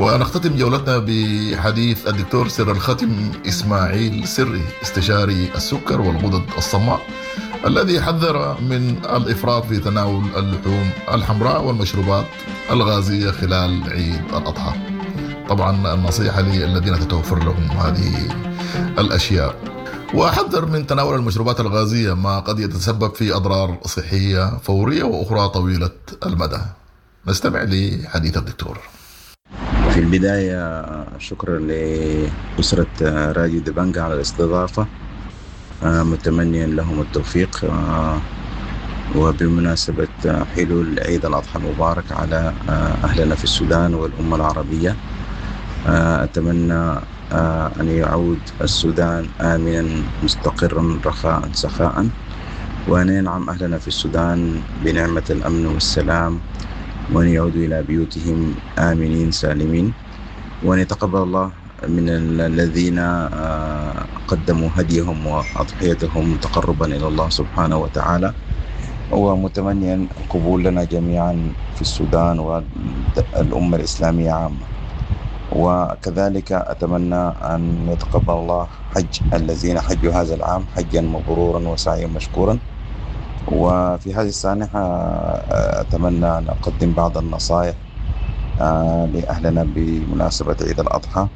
ونختتم جولتنا بحديث الدكتور سر الختم إسماعيل سري، استشاري السكر والغدد الصماء، الذي حذر من الإفراط في تناول اللحوم الحمراء والمشروبات الغازية خلال عيد الأضحى. طبعا النصيحة للذين تتوفر لهم هذه الأشياء. وحذر من تناول المشروبات الغازية ما قد يتسبب في أضرار صحية فورية وأخرى طويلة المدى. نستمع لحديث الدكتور. في البداية شكرا لأسرة راديو دبنجا على الاستضافة، متمنيا لهم التوفيق، وبمناسبة حلول عيد الأضحى المبارك على أهلنا في السودان والأمة العربية، أتمنى أن يعود السودان آمنا مستقرا رخاء سخاء، وأن ينعم أهلنا في السودان بنعمة الأمن والسلام، وأن يعودوا إلى بيوتهم آمنين سالمين، وأن يتقبل الله من الذين قدموا هديهم وأضحيتهم تقربا إلى الله سبحانه وتعالى، ومتمنيا القبول لنا جميعا في السودان والأمة الإسلامية عامة. وكذلك أتمنى أن يتقبل الله حج الذين حجوا هذا العام حجا مبرورا وسعيا مشكورا. وفي هذه السانحة أتمنى أن أقدم بعض النصائح لأهلنا بمناسبة عيد الأضحى.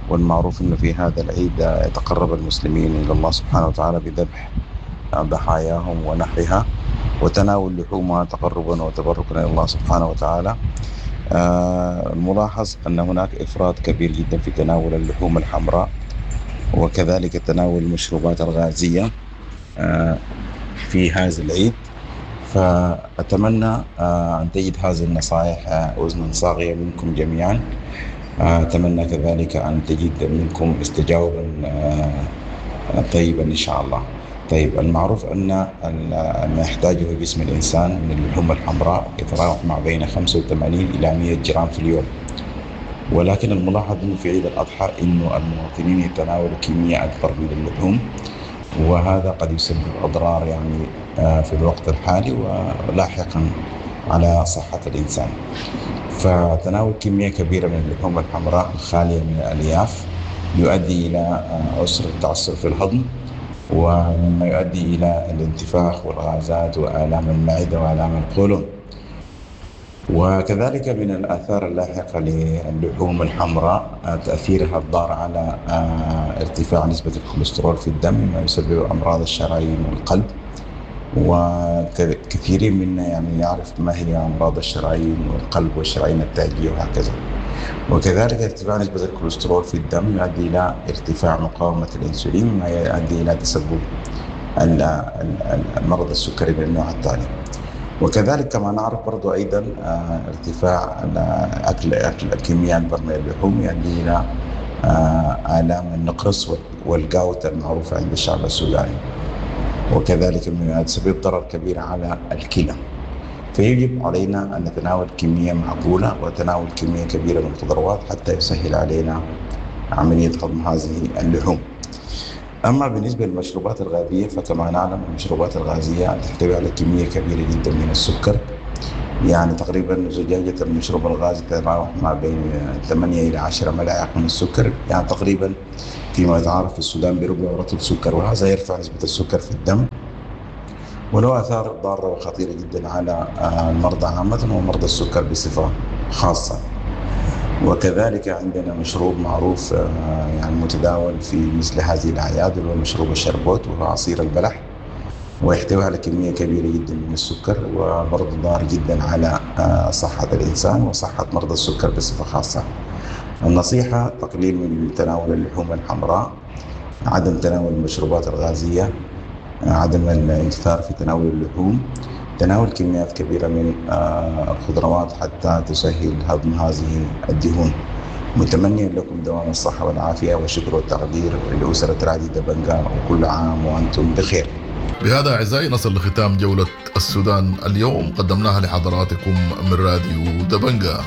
والمعروف أنه في هذا العيد يتقرب المسلمين إلى الله سبحانه وتعالى بذبح ضحاياهم ونحرها وتناول لحومها تقربا وتبركا إلى الله سبحانه وتعالى. الملاحظ أن هناك إفراط كبير جدا في تناول اللحوم الحمراء، وكذلك تناول المشروبات الغازية في هذا العيد. فأتمنى أن تجد هذه النصائح أذنا صاغية منكم جميعا. أتمنى كذلك أن تجد منكم استجاوبا طيبا إن شاء الله. المعروف أن ما يحتاجه جسم الإنسان من اللحوم الحمراء يتراوح ما بين 85 إلى 100 جرام في اليوم، ولكن الملاحظ أنه في عيد الأضحى أنه المواطنين يتناولوا كمية أكبر من اللحوم، وهذا قد يسبب أضرار في الوقت الحالي ولاحقا على صحة الإنسان. فتناول كمية كبيرة من اللحوم الحمراء الخالية من الألياف يؤدي إلى عسر التعصر في الهضم، ومما يؤدي إلى الانتفاخ والغازات وآلام المعدة وآلام القولون. وكذلك من الآثار اللاحقة للحوم الحمراء تأثيرها الضار على ارتفاع نسبة الكوليسترول في الدم، مما يسبب أمراض الشرايين والقلب. وكثيرين منا يعرف ما هي أمراض الشرايين والقلب والشرايين التاجية وهكذا. وكذلك ارتفاع نسبة الكوليسترول في الدم يؤدي إلى ارتفاع مقاومة الأنسولين، مما يؤدي إلى تسبب المرض السكري من النوع الثاني. وكذلك كما نعرف برضو أيضا ارتفاع أكل كمية أكبر من اللحوم يؤدي إلى آلام النقرس والجاوت المعروفة عند الشعب السوداني، وكذلك مما يسبب ضرر كبير على الكلى. فيجب علينا أن نتناول كمية معقولة وتناول كمية كبيرة من الخضروات حتى يسهل علينا عملية هضم هذه اللحوم. أما بالنسبة للمشروبات الغازية فكما نعلم المشروبات الغازية تحتوي على كمية كبيرة جدا من السكر، تقريبا زجاجة المشروب الغازي تتراوح ما بين 8 إلى 10 ملاعق من السكر، تقريبا فيما يتعارف في السودان بربع رطل سكر، وهذا يرفع نسبة السكر في الدم، وله آثار ضارة وخطيرة جدا على المرضى عامة ومرضى السكر بصفة خاصة. وكذلك عندنا مشروب معروف متداول في مثل هذه الأعياد، وهو مشروب الشربوت، وهو عصير البلح، ويحتوي على كمية كبيرة جدا من السكر، وبرضه ضار جدا على صحة الإنسان وصحة مرضى السكر بصفة خاصة. النصيحة تقليل من تناول اللحوم الحمراء، عدم تناول المشروبات الغازية، عدم الإكثار في تناول اللحوم، تناول كميات كبيرة من الخضروات حتى تسهل هضم هذه الدهون. متمنيا لكم دوام الصحة والعافية والشكر والتقدير لأسرة راديو دبنجا، وكل عام وأنتم بخير. بهذا أعزائي نصل لختام جولة السودان اليوم قدمناها لحضراتكم من راديو دبنجا.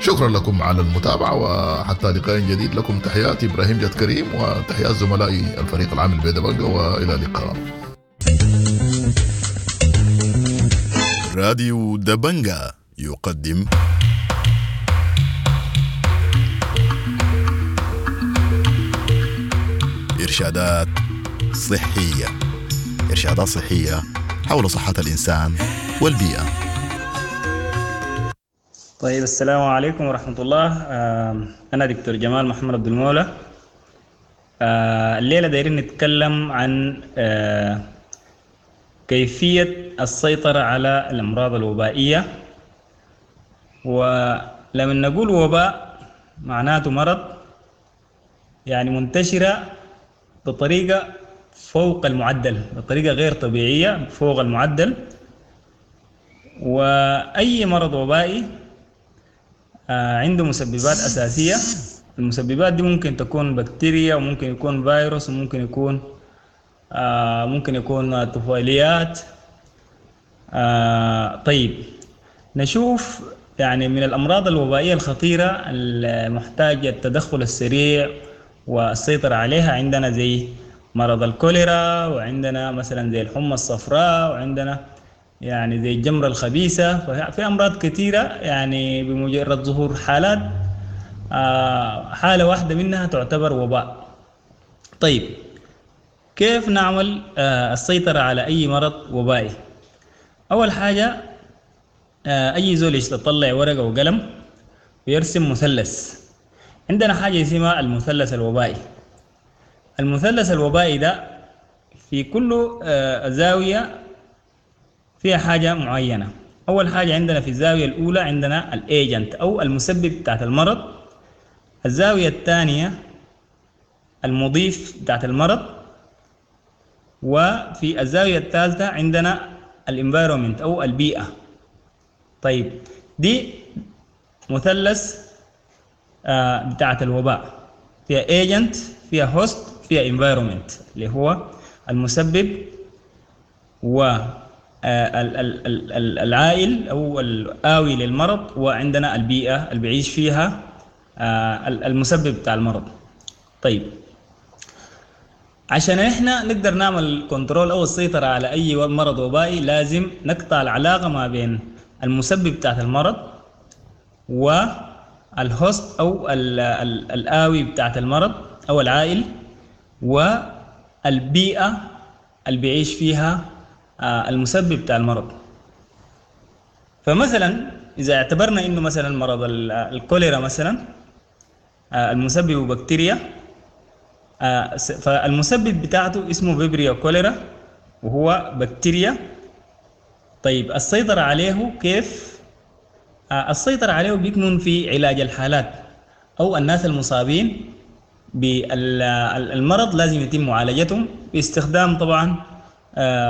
شكرا لكم على المتابعة، وحتى لقاء جديد لكم تحياتي إبراهيم جاد كريم وتحيات زملائي الفريق العامل بدبنجا، وإلى اللقاء. راديو دبنجا يقدم إرشادات صحية، إرشادات صحية حول صحة الإنسان والبيئة. طيب، السلام عليكم ورحمة الله. أنا دكتور جمال محمد عبد المولى. الليلة دايرين نتكلم عن كيفية السيطرة على الأمراض الوبائية. ولما نقول وباء معناته مرض يعني منتشرة بطريقة فوق المعدل، بطريقة غير طبيعية فوق المعدل. وأي مرض وبائي عنده مسببات أساسية. المسببات دي ممكن تكون بكتيريا، وممكن يكون فيروس، وممكن يكون ممكن يكون طفيليات. طيب، نشوف يعني من الأمراض الوبائية الخطيرة المحتاجة التدخل السريع والسيطرة عليها، عندنا زي مرض الكوليرا، وعندنا مثلا زي الحمى الصفراء، وعندنا يعني زي الجمرة الخبيثة. ففي أمراض كثيرة يعني بمجرد ظهور حالات، حالة واحدة منها تعتبر وباء. طيب، كيف نعمل السيطرة على أي مرض وبائي؟ أول حاجة، أي زول يطلع ورقة وقلم ويرسم مثلث. عندنا حاجة اسمها المثلث الوبائي. المثلث الوبائي ده في كل زاوية فيها حاجة معينة. أول حاجة عندنا في الزاوية الأولى عندنا ال agent أو المسبب بتاعت المرض. الزاوية الثانية المضيف بتاعت المرض. وفي الزاوية الثالثة عندنا ال environment أو البيئة. طيب، دي مثلث بتاعت الوباء، فيها agent، فيها host، فيها environment اللي هو المسبب و العائل أو الآوي للمرض، وعندنا البيئة اللي بيعيش فيها المسبب بتاع المرض. طيب، عشان احنا نقدر نعمل control او السيطرة على اي مرض وبائي، لازم نقطع العلاقة ما بين المسبب بتاعت المرض وال host او الاوي بتاعت المرض او العائل، والبيئة اللي بيعيش فيها المسبب بتاع المرض. فمثلا اذا اعتبرنا انه مثلا مرض الكوليرا مثلا، المسبب بكتيريا، فالمسبب بتاعته اسمه Vibrio cholera وهو بكتيريا. طيب، السيطرة عليه كيف؟ السيطرة عليه بيكمن في علاج الحالات أو الناس المصابين بالمرض، لازم يتم معالجتهم باستخدام طبعا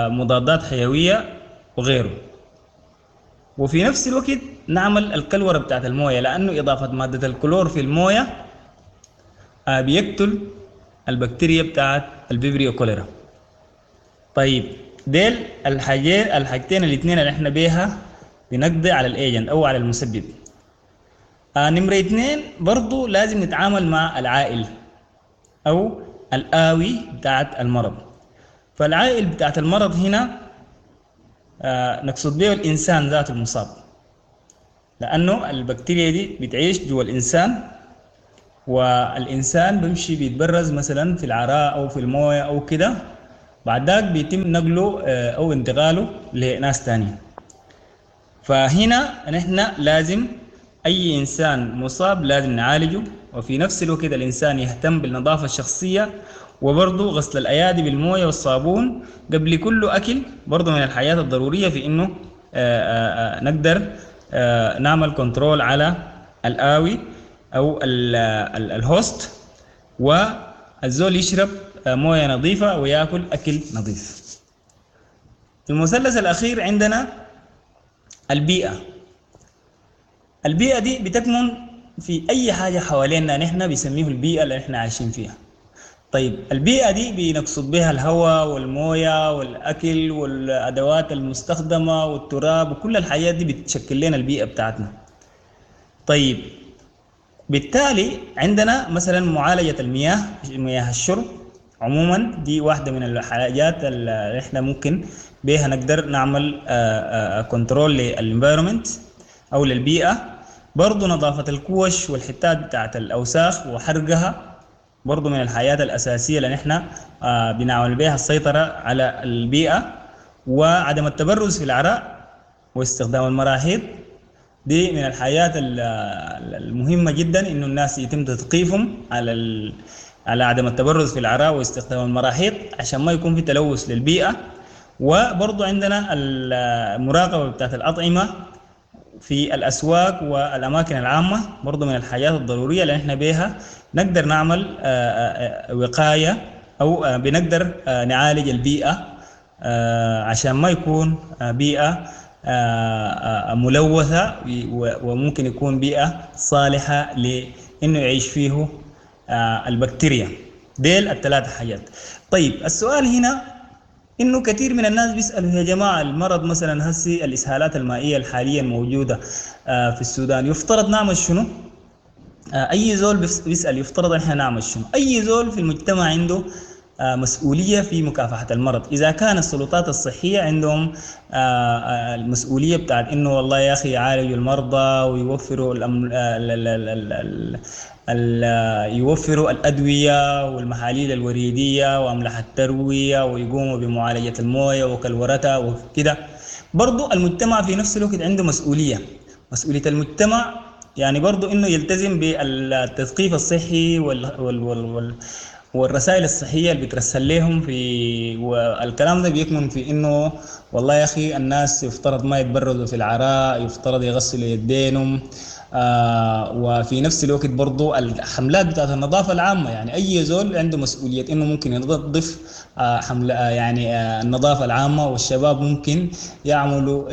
مضادات حيوية وغيره. وفي نفس الوقت نعمل الكلورة بتاعت الموية، لأنه إضافة مادة الكلور في الموية بيقتل البكتيريا بتاعت ال Vibrio cholera. طيب، ديل الحاجتين الاثنين اللي احنا بيها بنقضي على ال agent او على المسبب. نمرة اثنين، برضو لازم نتعامل مع العائل او الاوي بتاعت المرض. فالعائل بتاعت المرض هنا نقصد به الانسان ذات المصاب، لانه البكتيريا دي بتعيش جوا الانسان، والإنسان بيمشي بيتبرز مثلا في العراء أو في الموية أو كده، بعد ذاك بيتم نقله أو انتقاله لناس تانية. فهنا نحن لازم أي إنسان مصاب لازم نعالجه، وفي نفس الوقت الإنسان يهتم بالنظافة الشخصية، وبرضه غسل الأيادي بالموية والصابون قبل كل أكل، برضه من الحاجات الضرورية في إنه نقدر نعمل control على الآوي أو ال host، والزول يشرب موية نظيفة ويأكل أكل نظيف. المثلث الأخير عندنا البيئة. البيئة دي بتكمن في أي حاجة حوالينا نحن بيسميه البيئة اللي نحن عايشين فيها. طيب، البيئة دي بنقصد بها الهواء والموية والأكل والأدوات المستخدمة والتراب، وكل الحاجات دي بتشكل لنا البيئة بتاعتنا. طيب، بالتالي عندنا مثلا معالجة المياه، مياه الشرب عموما دي واحدة من الحاجات اللي احنا ممكن بها نقدر نعمل control لل environment او للبيئة. برضو نظافة الكوش والحتات بتاعت الأوساخ وحرقها. برضو من الحاجات الأساسية اللي نحن بنعمل بها السيطرة على البيئة، وعدم التبرز في العراء واستخدام المراحيض. دي من الحاجات المهمة جدا، إنه الناس يتم تثقيفهم على عدم التبرز في العراء واستخدام المراحيض عشان ما يكون في تلوث للبيئة. وبرضو عندنا المراقبة بتاعت الأطعمة في الأسواق والأماكن العامة، برضو من الحاجات الضرورية اللي احنا بيها نقدر نعمل وقاية أو بنقدر نعالج البيئة عشان ما يكون بيئة ملوثة، وممكن يكون بيئة صالحة لإنه يعيش فيه البكتيريا. ديل الثلاث حاجات. طيب السؤال هنا إنه كثير من الناس بيسألوا يا جماعة المرض مثلا هسي الإسهالات المائية الحالية الموجودة في السودان يفترض نعمل شنو؟ أي زول بيسأل يفترض إحنا نعمل شنو؟ أي زول في المجتمع عنده مسؤولية في مكافحة المرض. إذا كان السلطات الصحية عندهم المسؤولية بتاعت إنه والله يا أخي يعالجوا المرضى ويوفروا يوفروا الأدوية والمحاليل الوريدية وأملاح التروية ويقوموا بمعالجة الموية وكلورتها وكده، برضو المجتمع في نفس الوقت عنده مسؤولية. مسؤولية المجتمع يعني برضو إنه يلتزم بالتثقيف الصحي والرسائل الصحية اللي بترسل لهم في، والكلام ده بيكمن في إنه والله يا أخي الناس يفترض ما يتبرزوا في العراء، يفترض يغسلوا يدينهم، وفي نفس الوقت برضو الحملات بتاعت النظافة العامة، يعني أي زول عنده مسؤولية إنه ممكن ينظف حملة يعني النظافة العامة، والشباب ممكن يعملوا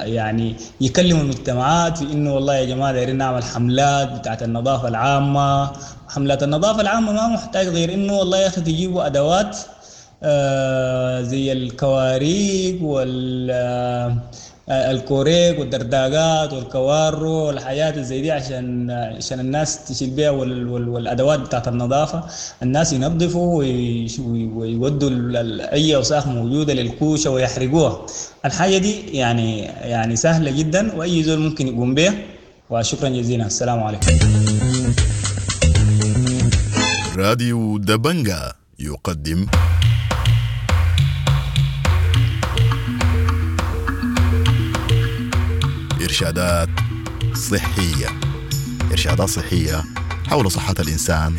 يعني يكلموا المجتمعات في إنه والله يا جماعة دايرين نعمل حملات بتاعت النظافة العامة. حملات النظافة العامة ما محتاج غير إنه والله يا أخي تجيبوا أدوات زي الكواريك والكوريك والدرداقات والكوارو والحاجات زي دي عشان الناس تشيل بيها، والادوات بتاعت النظافة الناس ينظفوا ويودوا اي اوساخ موجودة للكوشه ويحرقوها. الحاجة دي يعني سهلة جدا واي زول ممكن يقوم بها. وشكرا جزيلا، السلام عليكم. راديو دبنجا يقدم إرشادات صحية. إرشادات صحية حول صحة الإنسان.